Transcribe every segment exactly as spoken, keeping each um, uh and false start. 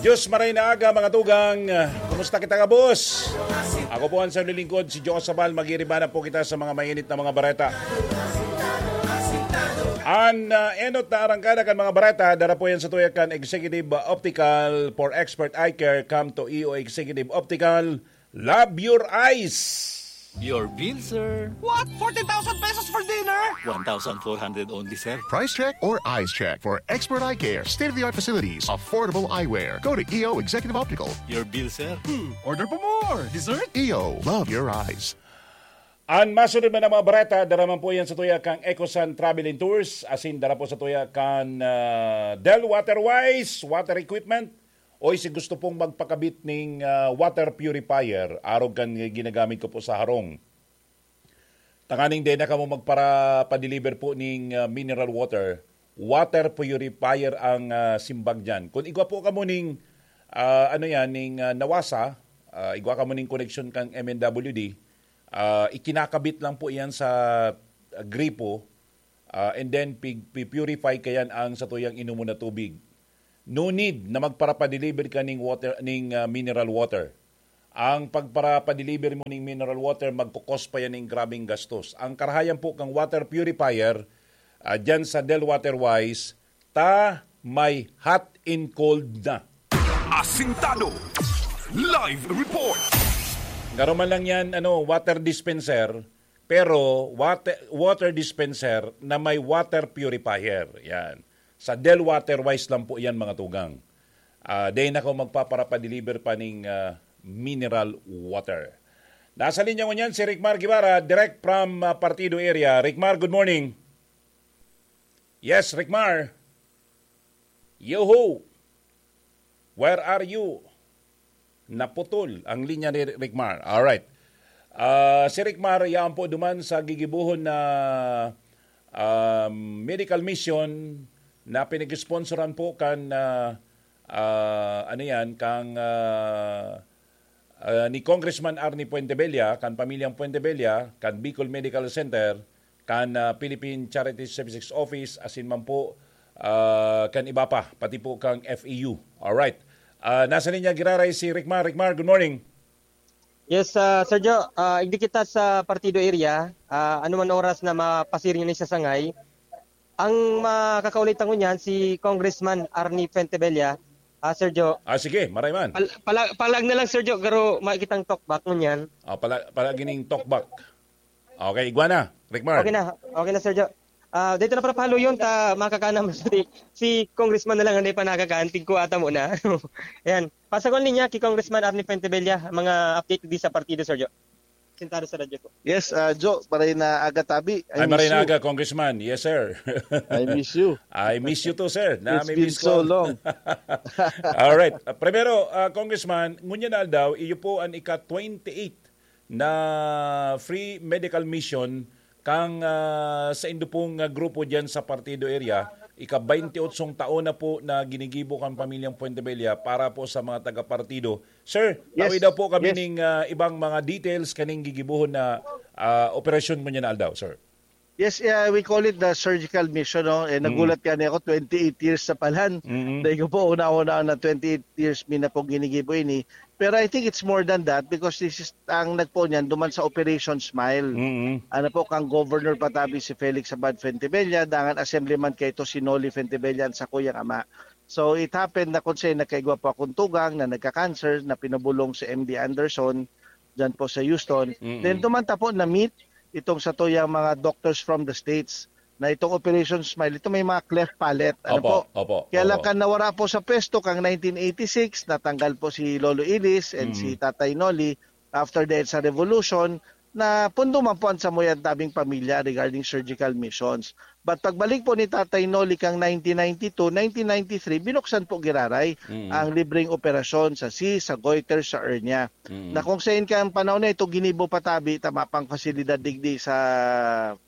Diyos maray na aga, mga tugang. Kumusta kita, kabos? Ako po ang sa lingkod, si Joe Sabal. Magiriba na po kita sa mga mainit na mga bareta. An uh, enot na arangkada kan mga bareta, dara po yan sa tuya kan Executive Optical. For expert eye care, come to E O Executive Optical. Love your eyes! Your bill, sir. What? Forty thousand pesos for dinner? One thousand four hundred only, sir. Price check or eyes check for expert eye care, state-of-the-art facilities, affordable eyewear. Go to E O Executive Optical. Your bill, sir. Order pa more. Dessert? E O, love your eyes. An masunod man ang mga bareta, dara man po yan sa tuya kang Ecosan Travel and Tours, asin dara po sa tuya kan uh, Del Waterwise Water Equipment. Oy, si gusto pong magpakabit ning uh, water purifier, arog kan ginagamit ko po sa harong. Tanganing din na kamo magpara-deliver po ning uh, mineral water, water purifier ang uh, simbag dyan. Kung igwa po kamo ning, uh, ano yan, ning uh, nawasa, uh, igwa kamo ning koneksyon kang M N W D, uh, ikinakabit lang po yan sa uh, gripo, uh, and then pig- purify kayan ang satuyang inumo na tubig. No need na magparapadeliver ka ning water, ning uh, mineral water. Ang pagparapadeliver mo ning mineral water, magkukos pa yan ning grabing gastos. Ang karahayan po kang water purifier, uh, dyan sa Del Water Wise, ta may hot and cold na. Asintado. Live report. Karuman lang yan, ano, water dispenser, pero water, water dispenser na may water purifier. Yan. Sa Del Water Wise lang po yan, mga tugang. Uh, dahil ako magpaparapadeliver pa ning uh, mineral water. Nasa linya ngunyan si Ricmar Guevara, direct from uh, Partido area. Ricmar, good morning. Yes, Ricmar. Yoho! Where are you? Naputol ang linya ni Ricmar. Alright. Uh, si Ricmar, yaan po duman sa gigibuhon na um, medical mission na pinag-sponsoran po kan uh, uh, ano yan, kang uh, uh, ni Congressman Arnie Fuentebella, kan pamilyang Fuentebella, kan Bicol Medical Center, kan uh, Philippine Charity Services Office, asin man po uh, kan iba pa, pati po kang F E U. Alright. Uh, nasa linya giraray si Ricmar. Ricmar, good morning. Yes, uh, Sir Joe, uh, igdi kita sa partido area, uh, anuman oras na mapasiring ni sa sangay, ang makakaulay ta ngunyan si Congressman Arnie Fuentebella, uh, Sir Joe. Ah, sige, maray man. Pal- pala- palag na lang, Sir Joe, garo makikitang talkback ngunyan. Ah, pala, pala gining talkback. Okay, igwa na, Ricmar. Okay na, okay na, Sir Joe. Ah, dito na para pahaluyon ta makakanam si, si congressman na lang hindi pa nakakaan, tigko ata muna. Ayan. Pasakon niya kay Congressman Arnie Fuentebella mga update di sa partido, Sir Joe. Sentado sa radyo po. Yes, uh, Joe, maray na aga tabi. I Ay, maray na aga, Congressman. Yes, sir. I miss you. I miss you too, sir. Na, It's been so ko. long. Alright. Uh, primero, uh, Congressman, ngunyan na aldaw, iyo po ang ika-twenty-eight na free medical mission kang uh, sa indo pong uh, grupo diyan sa Partido Area, ika-twenty-eight taon na po na ginigibo kang pamilyang Fuentebella para po sa mga taga-partido. Sir, yes. Tawi daw po kami yes. ning uh, ibang mga details kaning gigibuhon na uh, operasyon mo niya na aldaw, sir. Yes, uh, we call it the surgical mission. No? Eh, nagulat mm. kani ako, twenty-eight years sa palan. Mm-hmm. Dahil ko po, una-una na twenty-eight years, mina pong ginigibo ini. Pero I think it's more than that because this is ang nagpo niyan duman sa Operation Smile. Mm-hmm. Ano po, kang Governor Patabi si Felix Abad Fuentebella, dangan assemblyman kay to si Noli Fuentebella ang sakuyang ama. So it happened na kung siya nagkaigwa po akong tugang na nagka-cancer na pinabulong si M D Anderson dyan po sa Houston. Mm-hmm. Then duman ta po na-meet itong sa tuyang mga doctors from the States na itong Operation Smile, ito may mga cleft palate. Ano opo, po? Opo, Kaya opo. lang kan nawara po sa pwesto kang nineteen eighty-six, natanggal po si Lolo Ilis and mm. si Tatay Noli after the EDSA Revolution, na pundo man po ang samuyan tabing pamilya regarding surgical missions. But pagbalik po ni Tatay Noli kang nineteen ninety-two, nineteen ninety-three, binuksan po giraray mm. ang libreng operasyon sa cyst, sa goiter, sa hernia. Mm. Na kung sa kang panahon na ito, ginibo patabi, tama pang pasilidad digdi sa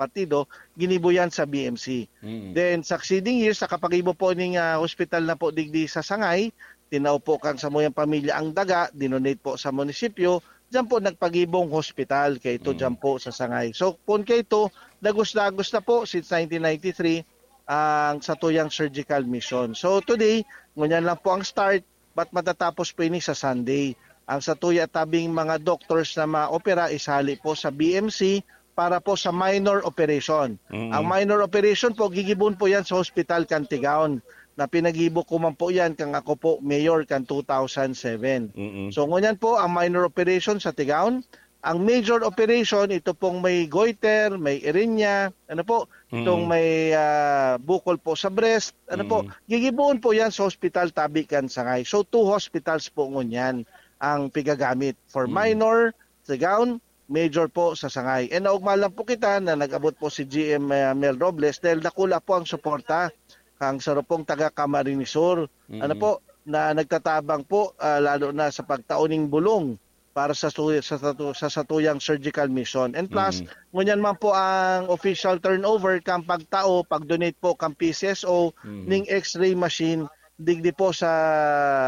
partido, ginibo yan sa B M C. Mm. Then, succeeding years, sa kapagibo po ning uh, hospital na po digdi sa Sangay, tinao po kang samuyang pamilya ang daga, dinonate po sa munisipyo, diyan po nagpagibong hospital kay ito mm. diyan po sa Sangay. So, kung kay ito, dagos-dagos na po since nineteen ninety-three ang satuyang surgical mission. So, today, ngunyan lang po ang start, but matatapos po ini sa Sunday. Ang satuya tabing mga doctors na maopera isali po sa B M C para po sa minor operation. Ang minor operation po, gigibon po yan sa hospital kan Tigaon na pinagibo ko man po yan kang ako po mayor kan two thousand seven. So ngunyan po, ang minor operation sa Tigaon, ang major operation, ito pong may goiter, may hernia, ano po, itong may ah, bukol po sa breast, ano po, gigiboon po yan sa hospital tabi kan Sangay. So two hospitals po ngunyan ang pigagamit for minor, Tigaon, major po sa Sangay. And naugma lang po kita na nag-abot po si G M ah, Mel Robles dahil dakula po ang suporta kang sarupong taga Camarines Sur. Ano po, na nagtatabang po ah, lalo na sa pagtao ning bulong para sa su- sa, satu- sa satuyang surgical mission. And plus, ngunyan man po ang official turnover kan pagtao, pag-donate po kan P C S O ning X-ray machine digdi po sa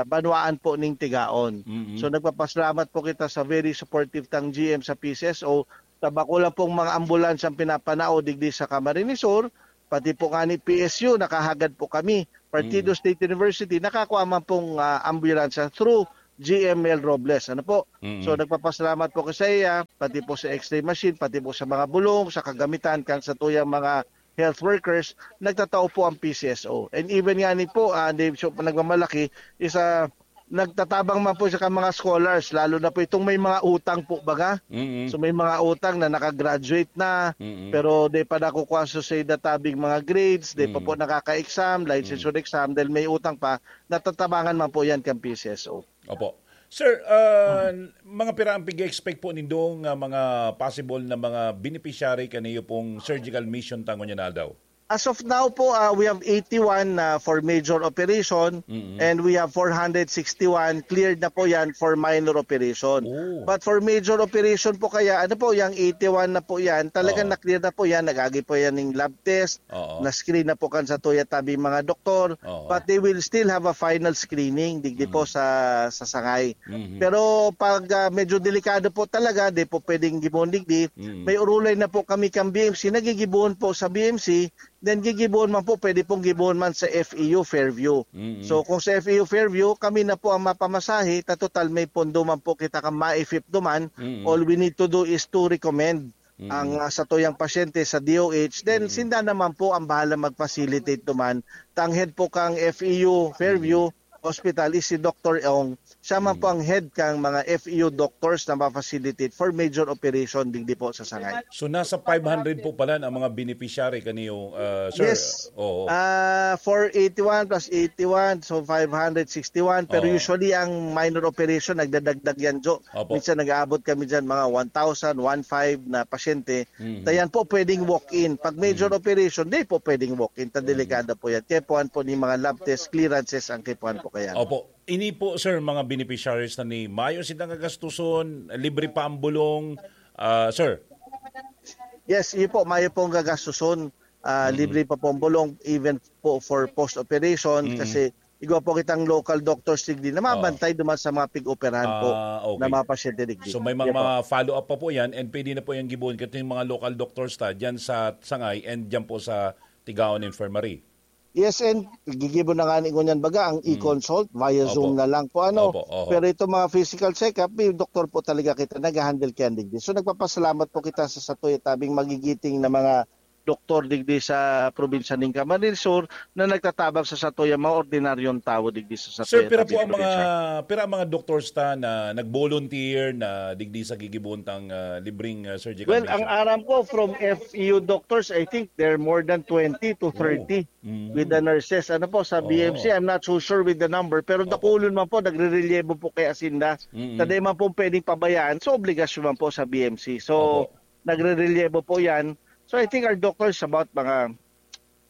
banwaan po ning Tigaon. So nagpapasalamat po kita sa very supportive tang G M sa P C S O. Sa bako lang pong mga ambulansya ang pinapanao digdi sa Camarines Sur, pati po nga ni P S U, nakahagad po kami. Partido State University, nakakua man pong ah, ambulansya through G M L Robles. Ano po? So nagpapasalamat po ko sa iya, pati po sa X-ray machine, pati po sa mga bulong, sa kagamitan kan satuyang mga health workers, nagtatao po ang P C S O. And even nga ni po, ah, di, so, nagmamalaki, isa, nagtatabang man po siya kan mga scholars, lalo na po itong may mga utang po baga. So may mga utang na nakagraduate na, pero di pa nakukuha sa sa tabing mga grades, di pa po nakaka-exam, licensure exam, dahil may utang pa, natatabangan man po yan kan P C S O. Opo. Sir, ah, mga pira ang pig-expect po nindo nga mga possible na mga beneficiary kaniyo pong surgical mission tangon niya na aldaw? As of now po, ah, we have eighty-one na for major operation and we have four hundred sixty-one cleared na po yan for minor operation. But for major operation po kaya, ano po, yung eighty-one na po yan, talagang na-clear na po yan, nag-agi po yan ng lab test, na-screen na po kan sa tuya tabi mga doktor, but they will still have a final screening digdi po sa sa Sangay. Pero pag ah, medyo delikado po talaga, di po pwedeng gibohon digdi. May urulay na po kami kan B M C, nagigibohon po sa B M C, then gigibohon man po, pwede pong gibohon man sa F E U Fairview. So kung sa F E U Fairview, kami na po ang mapamasahe, ta total may pondo man po kita kan MAIFIP duman. All we need to do is to recommend ang ah, satuyang pasyente sa D O H, then sinda naman po ang bahala mag-facilitate duman. Tang head po kang F E U Fairview Hospital is si Doctor Ong. Siya man po ang head kang mga F E U doctors na ma-facilitate for major operation digdi po sa Sangay. So nasa five hundred po pala ang mga beneficiary kaniyo, ah, sir? Yes. Oo. Ah, four eighty-one plus eighty-one, so five hundred sixty-one. Pero usually ang minor operation, nagdadagdag yan, Jo. Minsan nag-aabot kami dyan mga one thousand, one five na pasyente. Tayan po pwedeng walk-in. Pag major operation, di po pwedeng walk-in. Ta delikado po yan. Kaya po, po ni mga lab test clearances ang kipuan po kaya. Opo. Ini po, sir, mga beneficiaries na ni mayo sitang gagastuson, libre pa ang bulong, ah, sir? Yes, iyo po, mayo pong gagastuson. Ah, libre pa pong bulong, even po for post-operation, kasi igwa po kitang local doctors digdi na mabantay duman sa mga pig-operahan po na mga pasyente digdi. So may mga follow-up pa po yan and pwede na po yung gibuon kato yung mga local doctors ta dyan sa Sangay and dyan po sa Tigaon Infirmary. Yes, and gigibo na nga ni ngunyan baga ang e-consult via Zoom na lang po ano. Pero itong mga physical check-up, may doktor po talaga kita nag-handle kaya digdi. So nagpapasalamat po kita sa satuya tabing magigiting na mga doktor digdi sa probinsya ning Camarines Sur na nagtatabang sa satuya mga ordinaryong tawo digdi sa satuya. Sir, pira po ang mga pira ang mga doctors ta na nag-volunteer na digdi sa gigibuon tang ah, libreng ah, surgical Well, ang aram ko from F E U doctors, I think they're more than twenty to thirty with the nurses. Ano po, sa B M C, I'm not so sure with the number, pero dakulon man po, nagre-relievo po kaya sinda. Sa di man po pwedeng pabayaan, so obligasyon man po sa B M C. So, nagre-relievo po yan. So, I think our doctors about mga,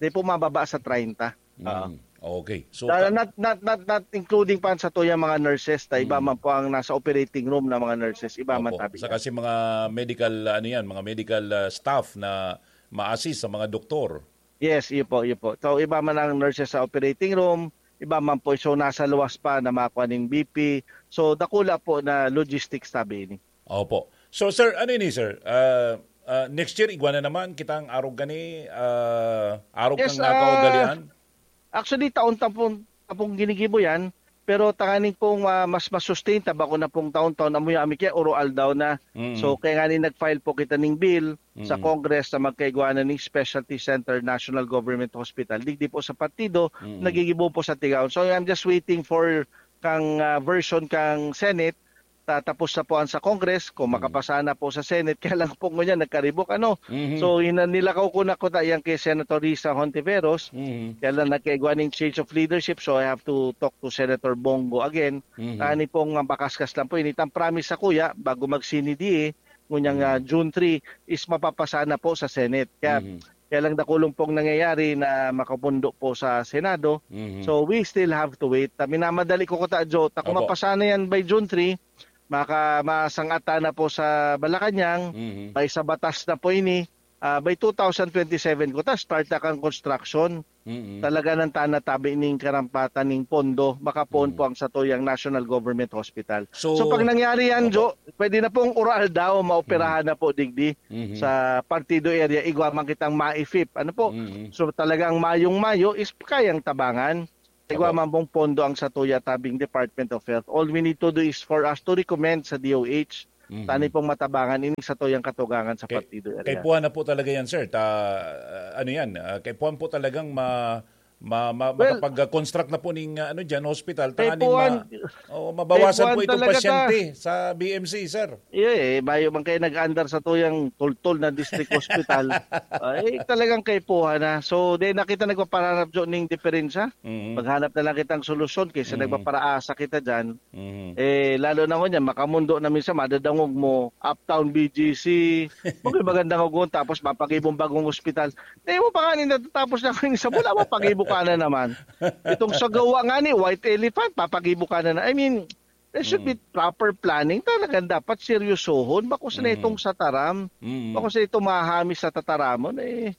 di po mababa sa treinta. Mm, okay. So, Na- not, not, not, not including pa sa tuyang mga nurses, ta iba man po ang nasa operating room na mga nurses, iba man Opo. tabi. Saka si mga medical, ano yan, mga medical ah, staff na ma-assist sa mga doktor. Yes, iyo po, iyo po. So, iba man ang nurses sa operating room, iba man po, so nasa luwas pa na makuha ning B P. So, dakula po na logistics tabi ini. Opo. So sir, ano ini sir? Ah, ah, next year, igwa na naman kitang arog gani, ah, arog Yes, kang nakaugalian? Actually, taon tapong, tapong ginigibo yan. Pero tanganing pong, ah, mas masustain ta, bako na pong taon-taon, amuya ami kaya oro aldaw na. Mm. So, kaya nga ni nag-file po kita ning bill sa Mm. Congress na magkaigwa na ning specialty center National Government Hospital. Digdi po sa partido, Mm. nagigibo po sa Tigaon. So, I'm just waiting for kang, ah, version kang Senate. Tatapos na po ang sa Congress, kung Mm. makapasa na po sa Senate, kaya lang po ngunyan nagkaribok, ano? Mhm. So, hina-, nilakaw ko na kuta yan kay Senator Risa Hontiveros, Mhm. kaya lang nagkaigwa ning change of leadership, so I have to talk to Senator Bongo again. Mhm. Ani pong mapakaskas lang po, initang promise sa kuya, bago mag-Senate eh, ngunyang, Mhm. ah, June three, is mapapasa na po sa Senate. Kaya, Mhm. kaya lang dakulong pong nangyayari na makapundo po sa Senado. Mhm. So, we still have to wait. Ah, minamadali ko kuta, Jo. Ta kung Opo. mapasa na yan by June three, maka-, masangatan na po sa Malacañang, Mhm. by sa batas na po ini, ah, by two thousand twenty-seven kuta, start na kang construction. Mhm. Talaga nang tanatabi ning karampatan ning pondo, makapoon Mhm. po ang satuyang National Government Hospital. So, So, pag nangyari yan, Opo. Jo, pwede na pong oro aldaw, maoperahan Mhm. na po digdi Mhm. sa Partido area, igwa man kitang maifip. Ano po? Mhm. So, talagang mayong-mayo is kayang tabangan. Igwa Opo. man pong pondo ang satuya tabing Department of Health. All we need to do is for us to recommend sa D O H. Mhm. Tani pong matabangan ini satuyang katugangan sa Kay, partido area. Kaipuhan na po talaga yan, sir. Ta, ano yan, ah, kaipuhan po talagang ma, ma, ma, Well, makapag-construct na po ning, ah, ano dyan, hospital. Tanganing kaipuhan, ma, oh, mabawasan kaipuhan po itong talaga ta. pasyente sa B M C, sir. Iyo eh, bayo man kayo nag-andar sa tuyang tultol na district hospital. Ay, talagang kaipuhan na. So, di na kita nagpaparanap dyan ning diferensya. Mhm. Maghanap na lang kitang solusyon kaysa Mhm. nagpaparaasa kita dyan. Mhm. Eh, lalo na ngunyan, makamundo na minsan, madadangog mo, Uptown B G C, magandang ugon, tapos mapag-ibong bagong ospital. Di mo pa nga ni natatapos na kayo sa mula, mapagibo ka na naman. Itong sa gawa nga ni White Elephant, papagibo ka na na. I mean, there should be Mm. proper planning. Talagang dapat seryosohon. Bako sa Mm. itong sa taram. Mm. Bako sa itong mahahamis sa tataramon, eh,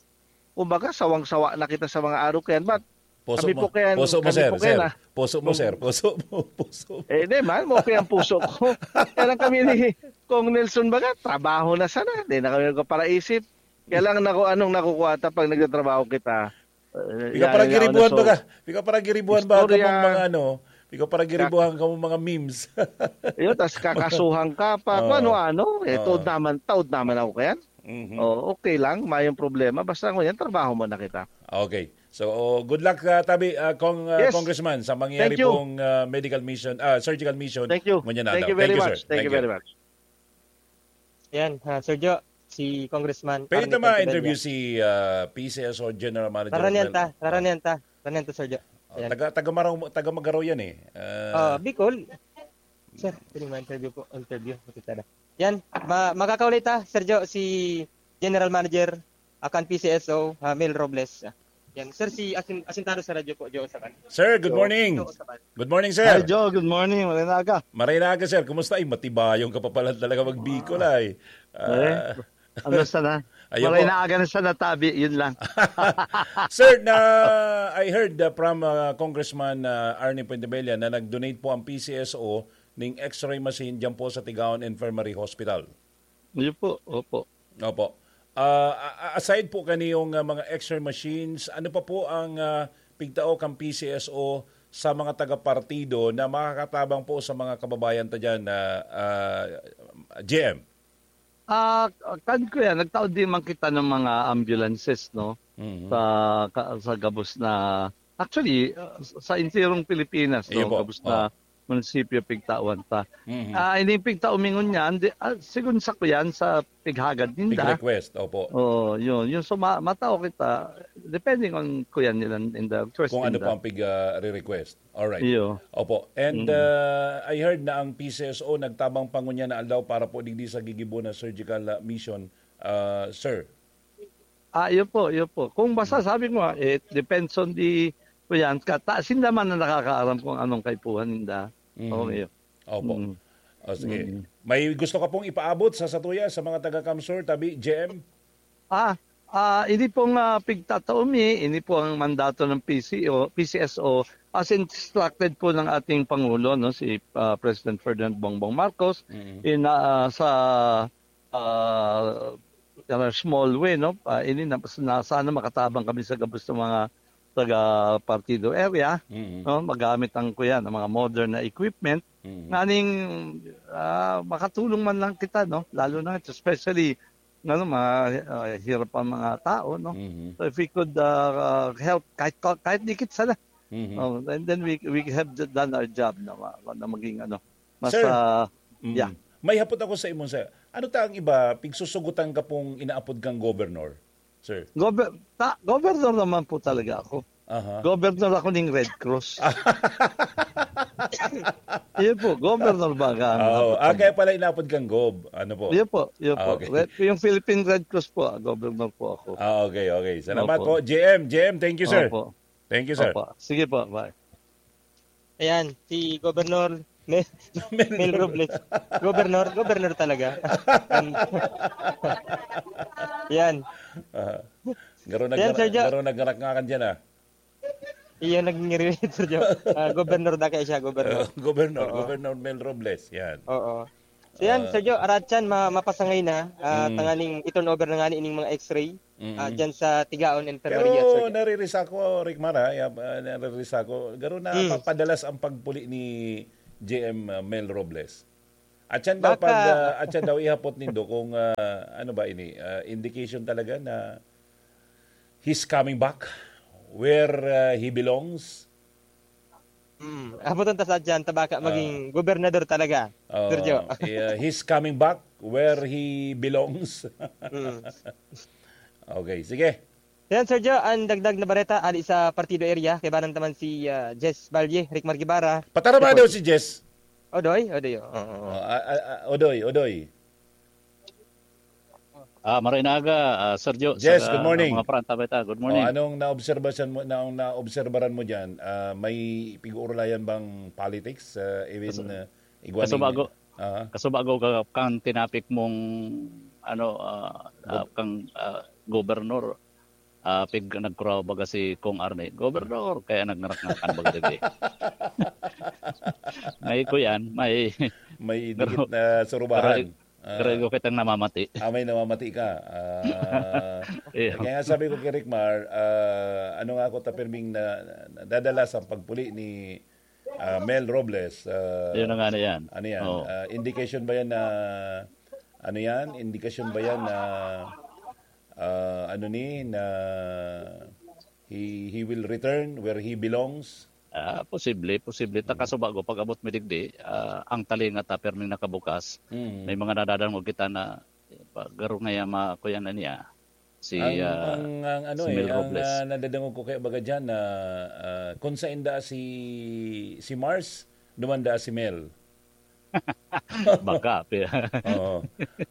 kumbaga, sawang-sawa na kita sa mga araw kayan. But Puso kami mo, po kaya, puso mo, kami sir, po kaya sir. na. Puso mo, Kung sir. Puso mo, puso mo. Eh, di man, mo kaya ang puso ko. Kaya lang kami ni Kong Nelson baga, trabaho na sana. Di na kami nagpaparaisip. Kaya lang nako, anong nakukuha ta pag nagtatrabaho kita? Eh, Ikaw yan, parang yan, giribuhan so, ba ka? Ikaw parang giribuhan ba ka istorya. mong mga ano? Ikaw parang Kak- giribuhan ka mong mga memes. Yun, tas kakasuhan ka pa. Kung Oo. ano-ano. Eh, Oo. taod naman, taod naman ako kayan. Mhm. Oh, okay lang, mayong problema. Basta ngunyan, trabaho muna kita. Okay. So, good luck, ah, Tabi, ah, Cong-, ah, Yes. Congressman, sa mangyayari Thank you. pong, ah, medical mission, ah, surgical mission. Thank you. Ngunyan na Thank daw. you very Thank you, much. sir. Thank you Thank you. very much. Yan, ah, Sir Jo, si Congressman Pwede Arnie naman Cantebella. interview si, ah, P C S O General Manager Raranian Mel-, ta, ah. raranian ta, raranian ta, Sir Jo. Oh, Yan. taga, taga Maraw-, taga Magaro yan eh. Ah, Ah, Bicol. Sir, pwede mo interview po, interview, makita na. Yan, ma-, makakauli ta, Sir Jo, si General Manager, ah, kan P C S O, ah, Mel Robles. Ah, yan, sir, si Asin-, Asintado sa radyo po, Jo, sa kan. Sir, good Jo, morning. Jo, sa kan. Good morning, sir. Hi, Jo. Good morning. Magandang aga. Maray na aga, sir. Kumusta? Ay, matibayong ka pa pala talaga mag-Bicol, Ah. ay. Ah. Eh, ano sana? Ayun Maray po. na aga na sana tabi, yun lang. Sir, na, I heard, uh, from, uh, Congressman, uh, Arnie Fuentebella na nag-donate po ang P C S O ning X-ray machine dyan po sa Tigaon Infirmary Hospital. Yun po, opo. Opo. Ah, a-, a-, aside po kaniyong, ah, mga X-ray machines, ano pa po ang, ah, pigtao kan P C S O sa mga taga-partido na makakatabang po sa mga kababayan ta dyan, ah, ah, J M? Ah, kan kuya, nagtaod din man kita ng mga ambulances, no? Mhm. Sa, ka-, sa gabos na, actually, ah, sa entirong Pilipinas, Ayun no? po. Gabos na Oh. munisipyo pigtawan ta. Mhm. Ah, ini pigtao mi ngunyan, di, ah, sigon sa kuyan, sa pighagad ninda. Pig-request, opo. Oo, yun. Yung suma-, matao kita, depending on kuyan nila in the request Kung ano ninda. po ang pig, ah, re-request. Alright. Iyo. Opo. And, Mm. ah, I heard na ang P C S O nagtabang pa ngunyan na aldaw para po digdi sa gigibo na surgical, ah, mission, ah, sir. Ah, yun po, yun po. Kung basta Mm. sabi ko nga, it depends on the, kuyan, kata, sinda man na nakakaaram kung anong kaipuhan ninda. Mm. Okay. Opo. Mm. O, sige. Mm. May gusto ka pong ipaabot sa satuya, sa mga taga-CamSur, tabi, J M? Ah, ah, ini pong, ah, pigtatao mi, ini po ang mandato ng P C O, P C S O, as instructed po ng ating Pangulo, no, si, ah, President Ferdinand Bongbong Marcos, Mm. in, ah, sa, ah, in a small way, no, ah, ini na, na sana makatabang kami sa gabos ng mga taga partido area, Mm. no, magamit ang kuya ng mga modern na equipment, Mm. nganing, ah, makatulong man lang kita, no, lalo na especially, ano, mga, ah, hirap ang mga tao, no. Mm. So if we could, ah, help kahit, kahit dikit sana, Mm. oh, and then we we have done our job na, ma- na maging ano, mas, Sir, ah, mm. yeah. May hapot ako sa imo, sir. Ano ta ang iba, pigsusugutan ka pong inaapod kang governor, sir? Gover- ta- governor naman po talaga ako. Aha. Governor ako ng Red Cross. Yun po, governor ba ang Oo. hapot Ah, kaya pala inaapod kang Gob. Ano po? Yun po, yun po. Ah, okay. Red- yung Philippine Red Cross po, ah, governor po ako. Ah, okay, okay. Salamat Opo. po. J M, J M, thank you, sir. Opo. Thank you, sir. Opo. Sige po, bye. Ayan, si Governor Mel, Mel Mel Robles. Governor, governor talaga. Yan. Ah, garo Yan, nag- Sir Jo. garo nagkarakngakan dyan, ah. Iyan naging relate, Sir Jo. Ah, governor na kaya siya, governor. Uh, governor, Oo. Governor Mel Robles, yan. Oo. So yan, Ah. Sir Jo, aratyan, ma- mapasangay na, ah, Mm. tanganing i-turn over na nga ni ining mga x-ray, Mm. ah, dyan sa Tigaon Enfermeria, Sir Pero Jo. naririsa ko, Rick Mar, ha? Ya- ah, naririsa ko. Garo na Mm. papadalas ang pagpuli ni J M, ah, Mel Robles. At yan daw Baka pag, ah, at yan daw ihapot nindo kung, ah, ano ba ini, ah, indication talaga na he's coming back where, ah, he belongs. Mm. Abutan ta sa dyan, ta baka Ah. maging gobernador talaga, Oo. Sir Jo. Yeah, he's coming back where he belongs. Mm. Okay, sige. Yan, Sir Jo, ang dagdag na bareta, ali sa Partido Area, kaibanan taman si, ah, Jess Valle, Rick Margibara. Patarama Ito po daw si- si Jess. Odoy, Odoy, oo, oo. Oh, ah, ah, ah, Odoy, Odoy. Ah, maray na aga, ah, Sir Jo, Yes, sa good morning. mga paranta beta. Good morning. Oh, anong naobserbasan mo, na, ang naobserbaran mo diyan? Ah, may pig-uurulayan bang politics, ah, even, Kaso, ah, igwa kaso ning bago, ah. kaso bago ka, kan tinapik mong, ano, ah, ah, Gob- kang, ah, gobernador, ah, pig-, nagkuraw baga si Kong Arne, "Gobernador," kaya nagngarak-ngarak ang baga digdi. May kuyan, may May dikit na surubahan. Pero, pero Ah. ikaw kitang namamati. Ah, may namamati ka. Ah, Iyo. kaya nga sabi ko kay Rick Mar, ah, ano nga ako ta pirming na, nadadala sa pagpuli ni, ah, Mel Robles, ah, Yun na nga na yan. ano yan? Oo. Ah, indication ba yan na, ano yan? Indication ba yan na, ah, ano ni, na he, he will return where he belongs? Ah, posible, posible. Ta Mm. kaso bago, pag-abot mi digdi, ah, ang talinga ta, perming nakabukas. Mm. May mga nadadangog kita na, eh, pa-, garo ngaya ma-, kuya na niya, si, Ang, ah, ang, ang ano si eh, Mel ang, Robles. ah, nadadangog ko kaya baga dyan na, ah, kung sain daa si, si Mars, duman daa si Mel. Baka, pi- Oo.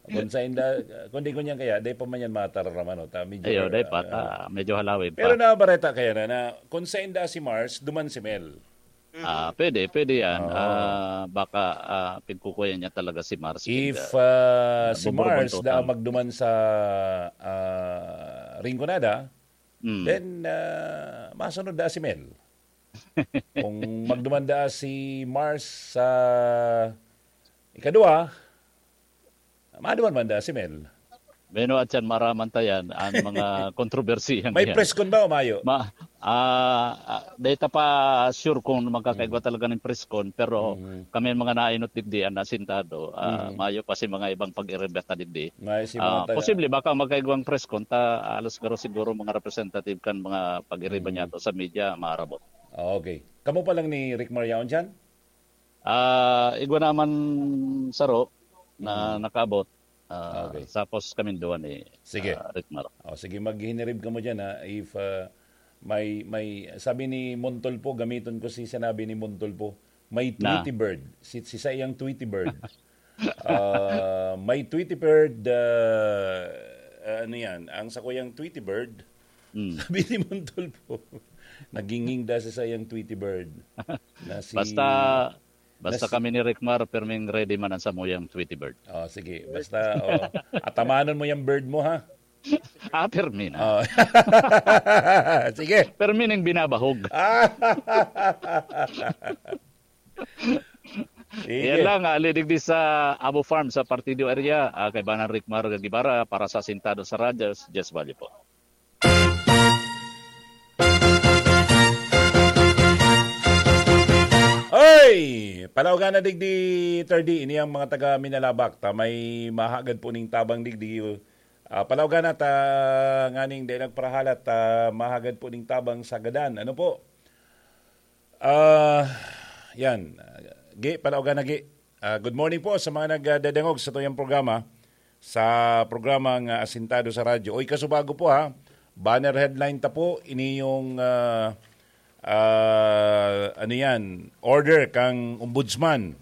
Kung sain da, kung di ko niyan kaya, di pa man yan matararaman, no? Ta, medyo, Ayo, di pa, ah, ta, medyo halawig pero pa. nabareta kaya na, na kung sain da si Mars, duman si Mel. Ah, pwede, pwede yan. Oo. Ah, baka, ah, pigkukuyan niya talaga si Mars. If, Pig, ah, ah, si Mars da buburbuntutan. magduman sa, ah, Rinconada, Mm. then, ah, masunod da si Mel. Kung magduman da si Mars sa ikadwa, maduman man da si Mel. Meno at yan, maraman ta yan, ang mga kontrobersiyang May yan. press con ba o mayo? Ma, ah, ah, di ta pa sure kung magkakaigwa Mm. talaga ng press con, pero Mm. kami mga nainot digdi, ang nasintado, ah, Mm. mayo pa si mga ibang pag-irebeta digdi. Mayo si Ah, mga taga- posible, baka magkaigwang press con, ta, alas garo siguro mga representative kan mga pag-iriba Mm. niya to sa media, maarabot. Ah, okay. Kamo pa lang ni Rick Mar yaon dyan? Ah, igwa naman saro na Mm. nakaabot. Ah, Okay. Sapos kaming duwa ni, Sige. ah, Rick Mar. Oh, sige, maghinirib kamo dyan, ha. If, ah, may, may, sabi ni Montulfo, gamiton ko si sinabi ni Montulfo, may Na. Tweety bird. Si, si saiyang Tweety bird. Ah, may Tweety bird, ah, ah, ano yan? Ang sakuyang Tweety bird, Mm. sabi ni Montulfo, naginging da sa saiyang Tweety bird. Na si Basta, basta na si kami ni Rick Mar, perming ready man ang samuyang Tweety bird. Oh, sige. Basta, oh, atamanon mo yung bird mo, ha? Ah, permi na. Oh. Sige. Permi ning binabahog. Ah. Sige. Yan lang, ah, ali digdi sa Abo Farm sa Partido Area. Ah, kaibanan Rick Mar Gibara para sa Sintado sa Radyo, Jess Valle po. Hey, palaugana digdi, Third D, ini ang mga taga Minalabac, ta may mahagad po ning tabang digdi. Ah, palaugana ta nganing dai nagparahalat, ta mahagad po ning tabang sa gadan. Ano po? Ah, yan. Gi, palaugana, Gi. Ah, good morning po sa mga nagdadangog sa tuyang programa, sa programang, ah, Asintado sa Radyo. Oy, kasubago po, ha. Banner headline ta po, ini yung, ah, ah, ano yan, order kang Ombudsman.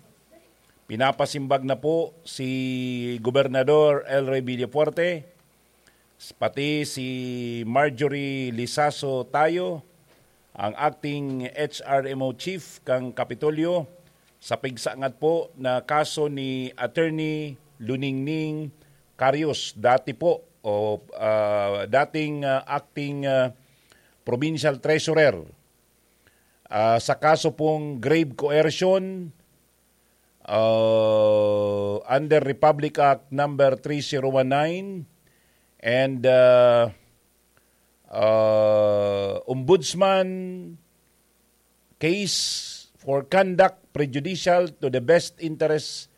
Pinapasimbag na po si Gobernador El Rey Villafuerte, pati si Marjorie Lizaso Tayo, ang acting H R M O chief kang Kapitolyo, sa pigsangat po na kaso ni Attorney Luningning Carius, dati po, o, ah, dating, ah, acting, ah, provincial treasurer, ah, sa kaso pong grave coercion, ah, under Republic Act number three zero one nine and, ah, ah, Ombudsman case for conduct prejudicial to the best interests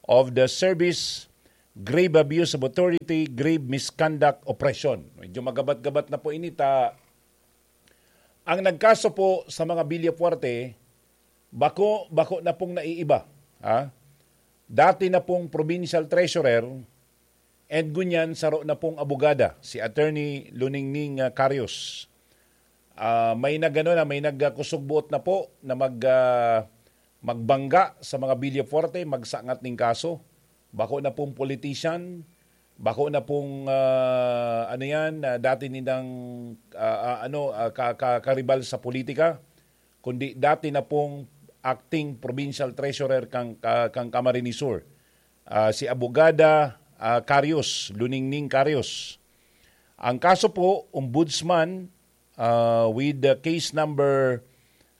of the service, grave abuse of authority, grave misconduct, oppression. Medyo magabat-gabat na po ini ta. Ang nagkaso po sa mga Villafuerte, bako, bako na pong naiiba. Ha? Dati na pong provincial treasurer, and ngunyan saro na pong abogada, si Attorney Luningning, ah, Carius. Ah, may nagano na, may nagkusog buot na po na mag, ah, magbangga sa mga Villafuerte, magsangat ning kaso. Bako na pong politician, bako na pong, ah, ano yan, ah, dati nilang, ah, ah, ano, ah, ka-, ka-, karibal sa politika, kundi dati na pong acting provincial treasurer kang, ka-, kang Camarines Sur, ah, si Abogada, ah, Carius, Luningning Carius. Ang kaso po, Ombudsman, ah, with the case number,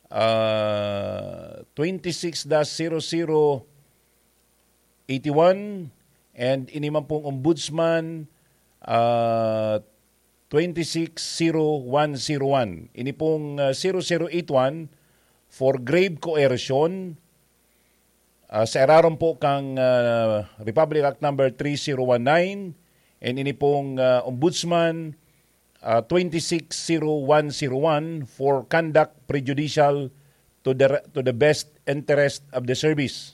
ah, twenty-six dash zero zero eighty-one, and ini man pong Ombudsman, ah, twenty-six zero one zero one. Ini pong, ah, zero zero eight one for grave coercion, ah, sa irarom po kang, ah, Republic Act number three zero one nine, and ini pong, ah, Ombudsman, ah, twenty-six zero one zero one for conduct prejudicial to the, to the best interest of the service,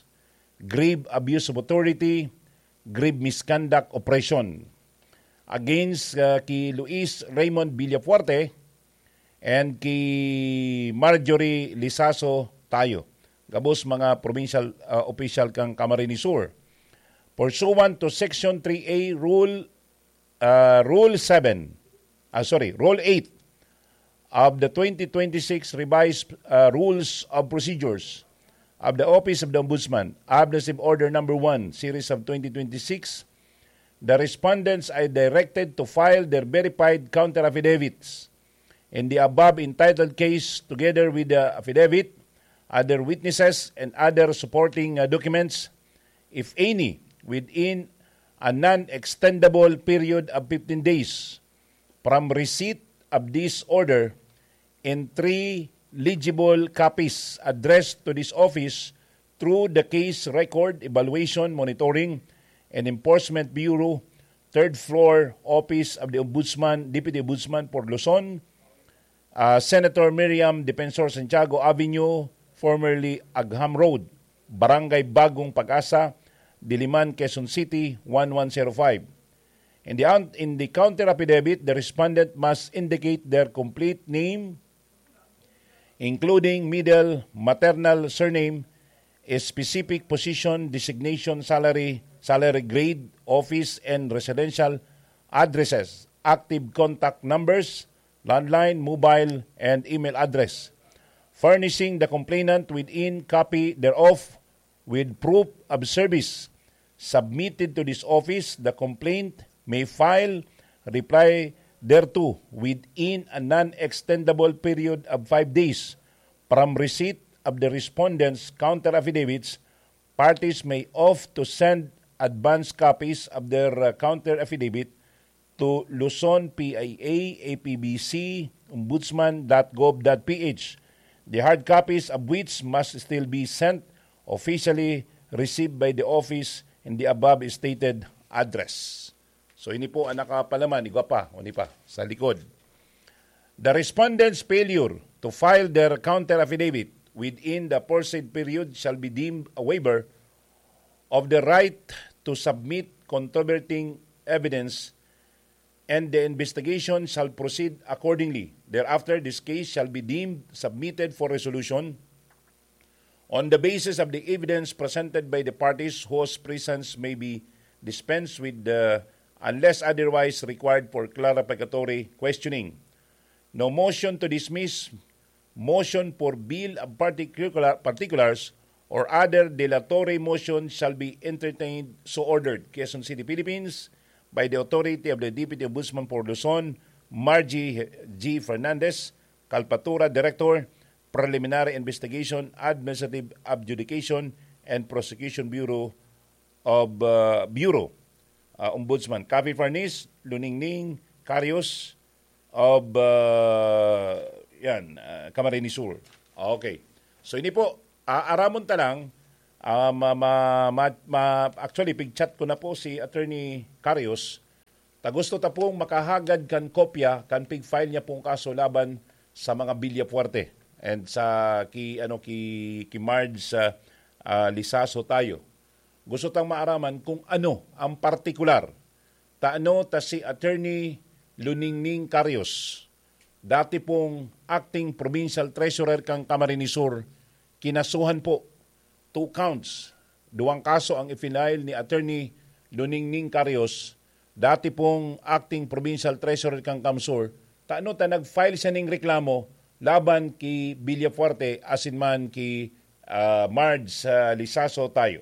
grave abuse of authority, grave misconduct, oppression against, ah, ki Luis Raymond Villafuerte and ki Marjorie Lizaso Tayo, gabos mga provincial, ah, official kang Camarines Sur. Pursuant to Section three A Rule, ah, Rule seven, ah, sorry, Rule eight of the twenty twenty-six Revised, ah, Rules of Procedures of the Office of the Ombudsman, Administrative Order Number One, Series of twenty twenty-six, the respondents are directed to file their verified counter affidavits in the above entitled case together with the affidavit, other witnesses, and other supporting, uh, documents, if any, within a non-extendable period of fifteen days from receipt of this order in three legible copies addressed to this office through the Case Record Evaluation, Monitoring, and Enforcement Bureau, third floor, Office of the Ombudsman, Deputy Ombudsman for Luzon, ah, Senator Miriam Defensor Santiago Avenue, formerly Agham Road, Barangay Bagong Pag-asa, Diliman, Quezon City, one one zero five. In the, in the counter affidavit, the respondent must indicate their complete name, including middle, maternal surname, specific position, designation, salary, salary grade, office, and residential addresses, active contact numbers, landline, mobile, and email address, furnishing the complainant with in copy thereof with proof of service submitted to this office. The complaint may file reply thereto within a non-extendable period of five days from receipt of the respondent's counter affidavits. Parties may opt to send advance copies of their, uh, counter affidavit to Luzon, P I A, A P B C, ombudsman dot gov dot P H. the hard copies of which must still be sent officially received by the office in the above stated address. So, ini po ang nakapalaman, igwa pa, o ni pa, sa likod. The respondent's failure to file their counter affidavit within the foresaid period shall be deemed a waiver of the right to submit controverting evidence, and the investigation shall proceed accordingly. Thereafter, this case shall be deemed submitted for resolution on the basis of the evidence presented by the parties whose presence may be dispensed with the, unless otherwise required for clarificatory questioning. No motion to dismiss, motion for bill of particular, particulars, or other dilatory motion shall be entertained, so ordered. Quezon City, Philippines, by the authority of the Deputy Ombudsman for Luzon, Margie G. Fernandez, Kalpatura Director, Preliminary Investigation, Administrative Adjudication, and Prosecution Bureau of, uh, Bureau, uh, Ombudsman. Cafe Furnace, Luningning, Carios, of, uh, yan, uh, Camarines Sur. Okay. So, ini po, aaramon ta lang, ah, ma, ma, ma, ma, actually, pig-chat ko na po si Attorney Carios. Ta gusto ta pong makahagad kan kopya kan pig-file niya pong kaso laban sa mga Villafuerte and sa ki, ano, ki, ki Marge, ah, ah, Lizaso tayo. Gusto tang maaraman kung ano ang partikular. Tano ta si Attorney Luningning Carios, dati pong acting provincial treasurer kan Camarines Sur, kinasuhan po, two counts. Duwang kaso ang i-file ni Attorney Luningning Carios, dati pong acting provincial treasurer kan CamSur, tano ta nag-file siya ning reklamo laban ki Villafuerte asin man ki, ah, Marge, ah, Lizaso tayo.